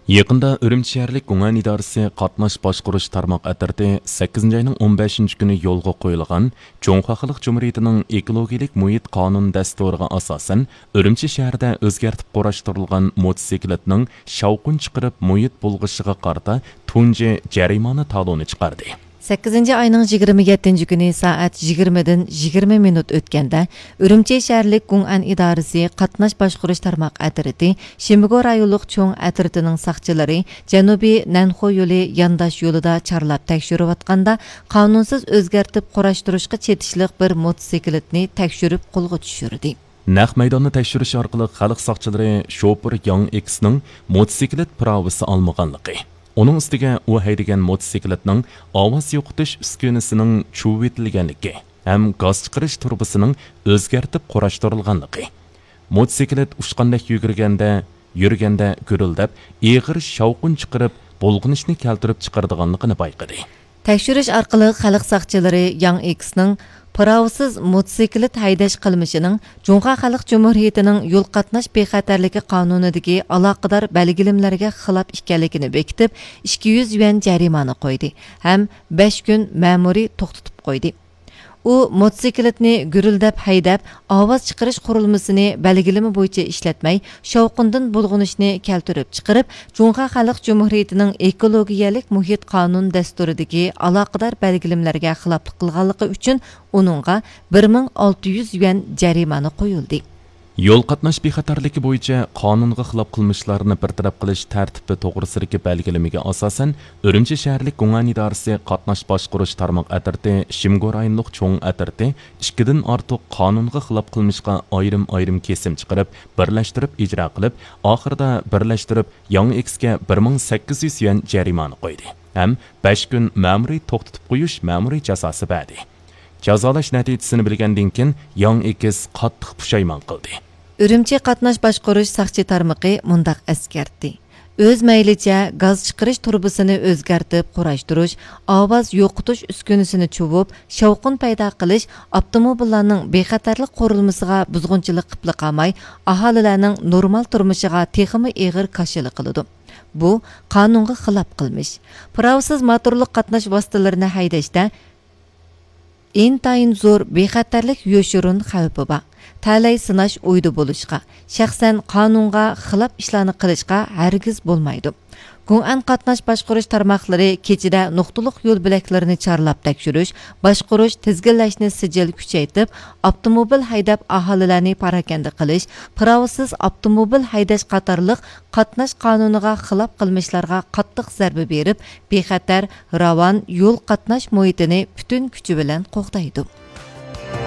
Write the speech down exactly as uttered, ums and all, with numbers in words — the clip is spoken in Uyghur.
يېقىندا ئۈرۈمچى شەھەرلىك گۇڭئەن ئىدارىسى قاتناش باشقۇرۇش تارماق ئەترىتى سەككىزىنچى ئاينىڭ ئون بەشىنچى كۈنى يولغا قويۇلغان جۇڭخۇا خەلق جۇمھۇرىيىتىنىڭ ئېكولوگىيەلىك مۇھىت قانۇن دەستۇرىغا ئاساسەن، ئۈرۈمچى شەھىرىدە ئۆزگەرتىپ قۇراشتۇرۇلغان موتوسىكلىتنىڭ شاۋقۇن چىقىرىپ مۇھىت بۇلغىشىغا قارىتا تۇنجى جەرىمانە تالونى چىقاردى. سەككىزىنچى ئاينىڭ يىگىرمە يەتتىنچى كۈنى سائەت يىگىرمىدىن يىگىرمە مىنۇت ئۆتكەندە، ئۈرۈمچى شەھەرلىك گۇڭئەن ئىدارىسى قاتناش باشقۇرۇش تارماق ئەترىتى شىمبىگو رايونلۇق چوڭ ئەترىتىنىڭ ساقچىلىرى جەنۇبىي نەنخۇ يولى يانداش يولىدا چارلاپ تەكشۈرۈۋاتقاندا، قانۇنسىز ئۆزگەرتىپ قۇراشتۇرۇشقا چېتىشلىق بىر موتوسىكلىتنى تەكشۈرۈپ قولغا چۈشۈردى. نەق مەيداننى تەكشۈرۈش ئارقىلىق خەلق ساقچىلىرى شوپۇر ياڭ ئېكسنىڭ موتوسىكلىت پىراۋىسى ئالمىغانلىقى، ئۇنىڭ ئۈستىگە ئۇ ھەيدىگەن موتوسىكلىتنىڭ ئاۋاز يوقىتىش ئۈسكۈنىسىنىڭ چۇۋۇۋېتىلگەنلىكى ھەم گاز چىقىرىش تۇرۇبىسىنىڭ ئۆزگەرتىپ قۇراشتۇرۇلغانلىقى، موتوسىكلىت ئۇچقاندەك يۈگۈرگەندە، يۈرگەندە گۈرۈلدەپ، ئېغىر شاۋقۇن چىقىرىپ، بۇلغىنىشنى كەلتۈرۈپ چىقىرىدىغانلىقىنى بايقىدى. تەكشۈرۈش ئارقىلىق خەلق ساقچىلىرى ياڭ ئېكسنىڭ پىراۋىسىز موتوسىكلىت ھەيدەش قىلمىشىنىڭ جۇڭخۇا خەلق جۇمھۇرىيىتىنىڭ يول قاتناش بىخەتەرلىكى قانۇنىدىكى ئالاقىدار بەلگىلىمىلەرگە خىلاپ ئىكەنلىكىنى بېكىتىپ، ئىككى يۈز يۈەن جەرىمانە قويدى ھەم بەش كۈن مەمۇرىي توختىتىپ قويدى. ئۇ موتوسىكلىتنى گۈرۈلدەپ ھەيدەپ، ئاۋاز چىقىرىش قۇرۇلمىسىنى بەلگىلىمە بويىچە ئىشلەتمەي، شاۋقۇندىن بۇلغىنىشنى كەلتۈرۈپ چىقىرىپ، جۇڭخۇا خەلق جۇمھۇرىيىتىنىڭ ئېكولوگىيەلىك مۇھىت قانۇن دەستۇرىدىكى ئالاقىدار بەلگىلىمىلەرگە خىلاپلىق قىلغانلىقى ئۈچۈن ئۇنىڭغا بىر مىڭ ئالتە يۈز يۈەن جەرىمانە قويۇلدى. يول قاتناش بىخەتەرلىكى بويىچە قانۇنغا خىلاپ قىلمىشلارنى بىر تەرەپ قىلىش تەرتىپى توغرىسىدىكى بەلگىلىمىگە ئاساسەن، ئۈرۈمچى شەھەرلىك گۇڭئەن ئىدارىسى قاتناش باشقۇرۇش تارماق ئەترىتى شىمگو رايونلۇق چوڭ ئەترىتى ئىككىدىن ئارتۇق قانۇنغا خىلاپ قىلمىشقا ئايرىم-ئايرىم كېسىم چىقىرىپ، بىرلەشتۈرۈپ ئىجرا قىلىپ، ئاخىرىدا بىرلەشتۈرۈپ ياڭ ئېكسكە بىر مىڭ سەككىز يۈز يۈەن جەرىمانە قويدى ھەم بەش كۈن مەمۇرىي توختىتىپ قويۇش مەمۇرىي جازاسى بەردى. جازالاش نەتىجىسىنى بىلگەندىن كېيىن، ياڭ ئېكس قاتتىق پۇشايمان قىلدى. ئۈرۈمچى قاتناش باشقۇرۇش ساقچى تارمىقى مۇنداق ئەسكەرتتى: ئۆز مەيلىچە گاز چىقىرىش تۇرۇبىسىنى ئۆزگەرتىپ قۇراشتۇرۇش، ئاۋاز يوقىتىش ئۈسكۈنىسىنى چۇۋۇپ، شاۋقۇن پەيدا قىلىش ئاپتوموبىللارنىڭ بىخەتەرلىك قۇرۇلمىسىغا بۇزغۇنچىلىق قىپلا قالماي، ئاھالىلەرنىڭ نورمال تۇرمۇشىغا تېخىمۇ ئېغىر كاشىلا قىلىدۇ. بۇ قانۇنغا خىلاپ قىلمىش. پىراۋىسىز موتورلۇق قاتناش ۋاسىتىلىرىنى ھەيدەشتە ئىنتايىن زور بىخەتەرلىك يوشۇرۇن خەۋپى بار. تەلەي سىناش ئۇيدا بولۇشقا، شەخسەن قانۇنغا خىلاپ ئىشلارنى قىلىشقا ھەرگىز بولمايدۇ. گۇڭئەن قاتناش باشقۇرۇش تارماقلىرى كېچىدە نۇقتىلىق يول بۆلەكلىرىنى چارلاپ تەكشۈرۈش، باشقۇرۇش، تىزگىنلەشنى سىجىل كۈچەيتىپ، ئاپتوموبىل ھەيدەپ ئاھالىلەرنى پاراكەندە قىلىش، پىراۋىسىز ئاپتوموبىل ھەيدەش قاتارلىق قاتناش قانۇنىغا خىلاپ قىلمىشلارغا قاتتىق زەربە بېرىپ، بىخەتەر، راۋان يول قاتناش مۇھىتىنى پۈتۈن كۈچى بىلەن قوغدايدۇ.